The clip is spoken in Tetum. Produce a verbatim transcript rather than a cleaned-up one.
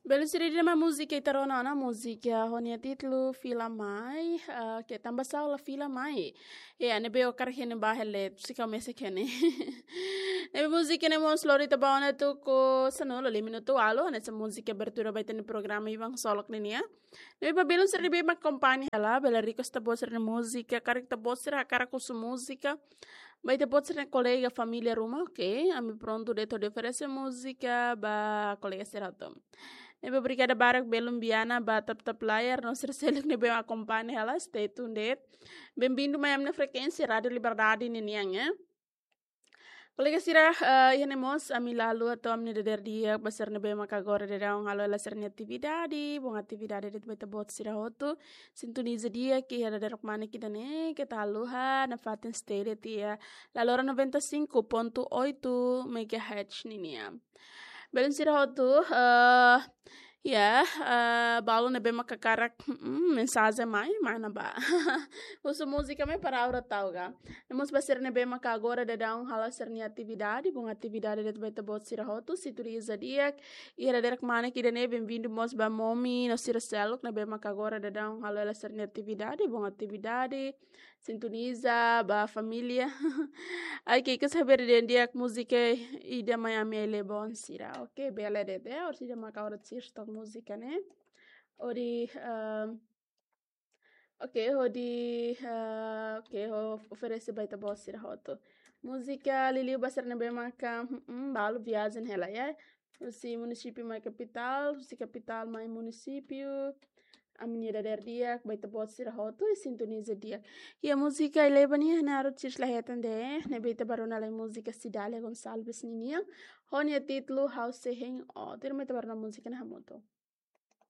Belun sira, ida-ne'e mak múzika ita rona ona, múzika ho nia títulu Fila Mai, ah, ke tanba sá la fila mai. Ya, ne'ebé hakarak hene ba hele, si ka mese kene. Ne'ebé múzika ne'e mós lori ita ba ona tuku sanulu, lima minutu ualu, hanesan múzika abertura ba ita-nia programa Ivan Solok ninian. Ne'ebé ba belun sira ne'ebé mak akompaña hela, bele request ita-boot sira-nia múzika, karik ita-boot sira hakarak husu múzika ba ita-boot sira-nia kolega, família ruma, oke, ami prontu de'it hodi oferese múzika ba kolega sira hotu. Ne'ebé obrigada barak belun Biana ba tap-tap layar, no sira seluk ne'ebé akompaña hela, stay tuned de'it. Bem-vindo mai ami-nia frekuénsia Rádio Liberdade ninian, eh. Kolega sira, eh, iha ne'e mós ami la haluha hato'o ami-nia dadeer di'ak ba sira ne'ebé mak agora daudaun halo hela sira-nia atividade, bom atividade de'it ba ita-boot sira hotu. Sintoniza di'ak iha dadeer ruma ne'e ida-ne'e, keta haluha nafatin stay de'it iha Lalora noventa e cinco ponto oito megahertz ninian. Belun sira hotu, eh, ya, eh, balu ne'ebé mak hakarak, mm, mensajen mai, mana ba. Husu múzika mai para aura tau ga. Ne'e mós ba sira ne'ebé mak agora daudaun halo sira-nia atividade, bom atividade de'it ba ita-boot sira hotu, sintoniza di'ak iha dadeer ruma ne'e ida-ne'e, bem-vindo mós ba Momi, no sira seluk ne'ebé mak agora daudaun halo hela sira-nia atividade, bom atividade, sintoniza ba família. Ai, ke kes haber den di'ak múzika ida mai ami ele bon sira. Oke, bele de'it, eh, orsida mak agora sira tok múzika ne'e. Hodi, ehm, oke, hodi, eh, oke, ho-, oferese ba ita-boot sira hotu. Múzika liuliu ba sira ne'ebé maka, mm, balu viajen hela, ya. Husi munisípiu mai kapitál, husi kapitál mai munisípiu. Ami-nia dadeer di'ak ba ita-boot sira hotu, i sintoniza di'ak. Iha múzika Ileba nian, ha'u artis la hetan de'it, ne'ebé ita bá rona lai múzika Cidália Gonçalves ninian, ho nia títulu Ha'u Sei Hein Ó. Tuirmai ita bá rona múzika ne'e hamutuk.